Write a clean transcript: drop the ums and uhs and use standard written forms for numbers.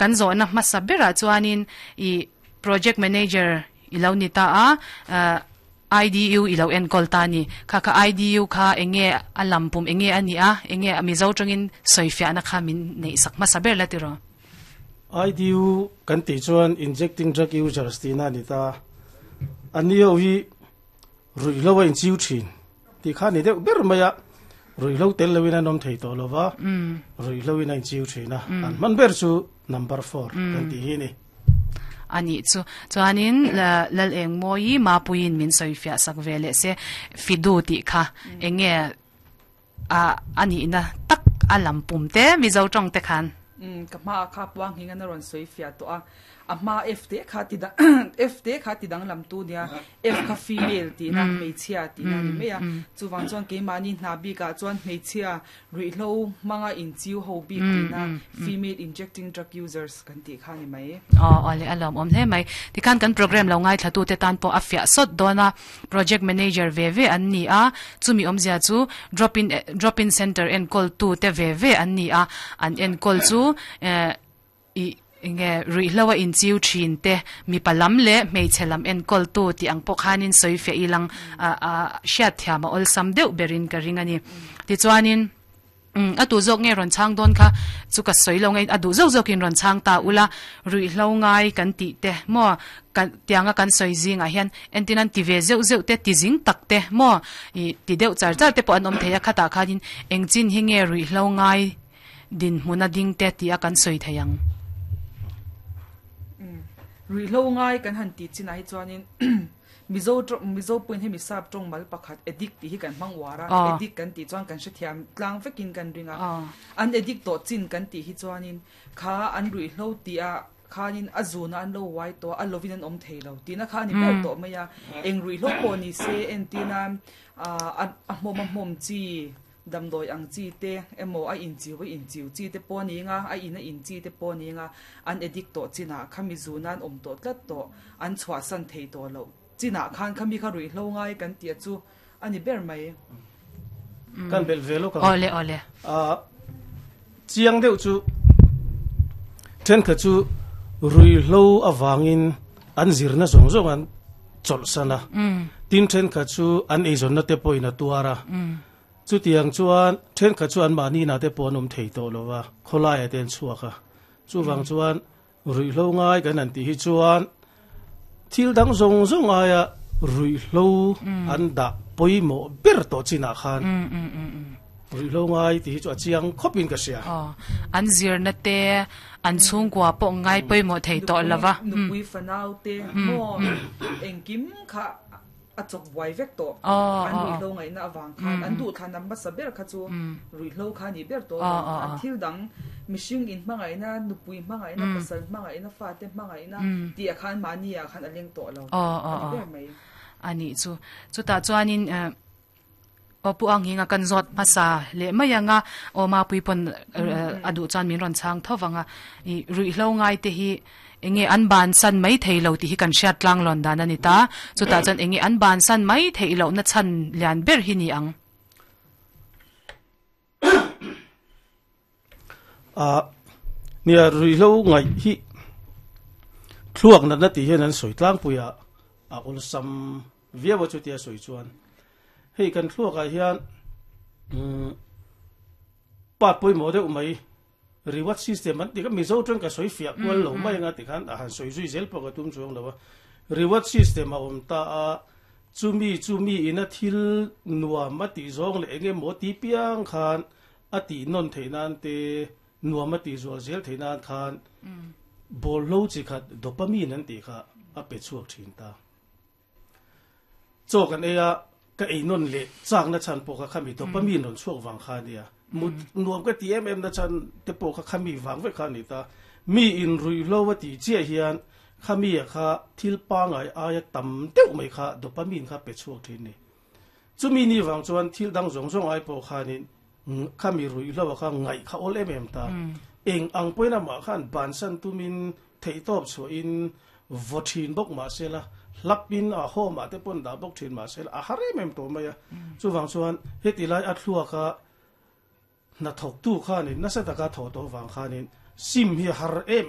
Kan zawhna hmasa berah chuanin i project manager i lo ni ta a, IDU i lo enkawl ta a ni. Kha kha IDU kha enge a lampum enge a nih a, enge a Mizo tangin sawifiahna kha min neih sak hmasa ber la tiraw? IDU kan tih chuan Injecting Drug Users tihna a ni ta. A ni ho hi ruihhlo a inchiu thin tih kha a ni deuh ber mai a, ruihhlo tel loin an awm thei tawh lo va, ruihhlo in a inchiu thin a, an hman ber chu number four kan tih hi a ni. A nih chu. Chuanin Lal Engmawi Mapuiin min sawifiah sak ve leh se, Fidu tih kha eng nge a nihna tak a lam pum te Mizo tawng te khan. Ka hma ah kha puang hing an a rawn sawi fiah tawh a, a hma F te kha ti dang F te kha ti danglam tu nia, F kha female tihna hmeichhia tihna a ni mai a, chuvang chuan keimahni hna bik ah chuan hmeichhia ruihhlo hmanga inchiu ho bik tihna female injecting drug users kan tih kha a ni mai. Aw awle a lawmawm hle mai. Tikhan kan program lo ngaithlatute tan pawh a fiah sawt dawn a. Project Manager ve ve an ni a, chumi awmzia chu Drop in Drop in Centre enkawl tu te ve ve an ni a, an enkawl chu eh ih enge ruihhlo a inchiu thin te mipa lam leh hmeichhe lam enkawl tu tih ang pawh khanin sawi fiah ilang a a hriatthiam a awlsam deuh berin ka ring a ni. Tichuanin. Umm a duh zawk nge rawn chhang dawn kha chu ka sawi lo nge a duh zawk zawkin rawn chhang ta ula ruihhlo ngai kan tih te maw kan tianga kan sawi zingah hian entin an ti ve zeuh zeuh te ti zing tak te maw ih ti deuh char char te pawh an awm thei a khatah khanin engchin hi nge ruihhlo ngai dinhmuna ding te tih a kan sawi thei ang. Umm ruihhlo ngai kan han tih chinah hi chuanin Mizo tawng, Mizo pawhin hemi sap tawng mal pakhat addict tih hi kan hmang uar a, addict kan tih chuan kan hrethiam tlang vekin kan ring a. An addict tawh chin kan tih hi chuanin kha an ruihhlo tih ah khanin a zunah an lo uai tawh a, a lovin an awm thei lo tihna kha a ni ber tawh mai a. Eng ruihhlo pawh ni se entina a hmawm a hmawm chi, damdawi ang chi te emaw a inchiu a inchiu chi te pawh a ni anga, a in a in chi te pawh a ni anga, an addict tawh chinah khami zuna an awm tawh tlat tawh, an chhuahsan thei tawh loh chinah khan khami kha ruihhlo ngai kan tih a chu a ni ber mai. Kan belh ve lawk ang. Awle awle. A chiang deuh chu thenkhat chu ruihhlo avangin an zirna zawng zawng an chawlhsan a, tin thenkhat chu an eizawnna te pawhin a tuar a, chutiang chuan thenkhat chu anmahni inah te pawh an awm thei tawh lo va, khawlaiah te an chhuak a, chuvang chuan ruihhlo ngai kan han tih hi chuan thil dang zawng zawng aia ruihhlo an dah pawimawh ber tawh chinah khan ruihhlo ngai tih hi chu a chiang khawpin ka hria. Aw, an zirna te An chhungkua pawh ngai pawimawh thei tawh lo va. Nupui fanau te maw engkim kha a chawk buai vek tawh. An ruihhlo ngaihna avang khan an duhthlan an hmasa ber kha chu ruihhlo kha a nih ber tawh lo. An thil dang mihring in hmangaihna, nupui hmangaihna, pasal hmangaihna, fate hmangaihna tih ah khan mahni ah khan a leng tawh lo a ni ber mai. A nih chu. Chutah chuanin. Aw Pu Anghinga kan zawt hmasa leh mai ang a, aw Mapui pawn a duh chuan min rawn chhang tho vang a, i ruihhlo ngai te hi enge an bansan mai thei lo tih hi kan hriat tlang lawn dan a ni ta, chutah chuan enge an bansan mai theih lohna chhan lian ber hi ni ang. A nia ruihhlo ngaih hi thluak natna tih hian an sawi tlangpui a, a awlsam viau a chutia sawi chuan hei kan thluakah hian umm part pawimawh deuh mai reward system an tih kha Mizo tang ka sawi fiah kual lo mai anga tikhan a han sawi zui zel pawh ka tum chuang lo a reward system a awm ta a chumi chumi ina thil nuam a tih zawng leh eng emaw ti piang khan a tih nawn theih nan te nuam a tih zual zel theih nan khan bawlhlo chi khat dopamine an tih kha a pe chhuak thin ta. Chaw kan ei a, ka ei nawn leh chakna chhan pawh kha khami dopamine rawn chhuak vang kha a nia. Mut nuam ka ti em em na chhan te pawh kha khami vang vek kha a ni ta. Mi in ruihhlo a tih chiah hian khami ah kha thil pangai aia tam deuh mai kha dopamine kha pe chhuak thin a ni. Chumi ni vang chuan thil dang zawng zawng ai pawh khanin khami ruihhlo ah kha ngaih kha awl em em ta. Eng ang pawhin amah khan bansan tumin Theihtawp chhuahin vaw thin bawk mah se la, hlapin a home ah te pawn dah bawk thin mah se la, a har em em tawh mai a. Chuvang chuan heti lai a thluaka hnathawktu khanin nasa taka thawh tawh vang khanin sim hi a har em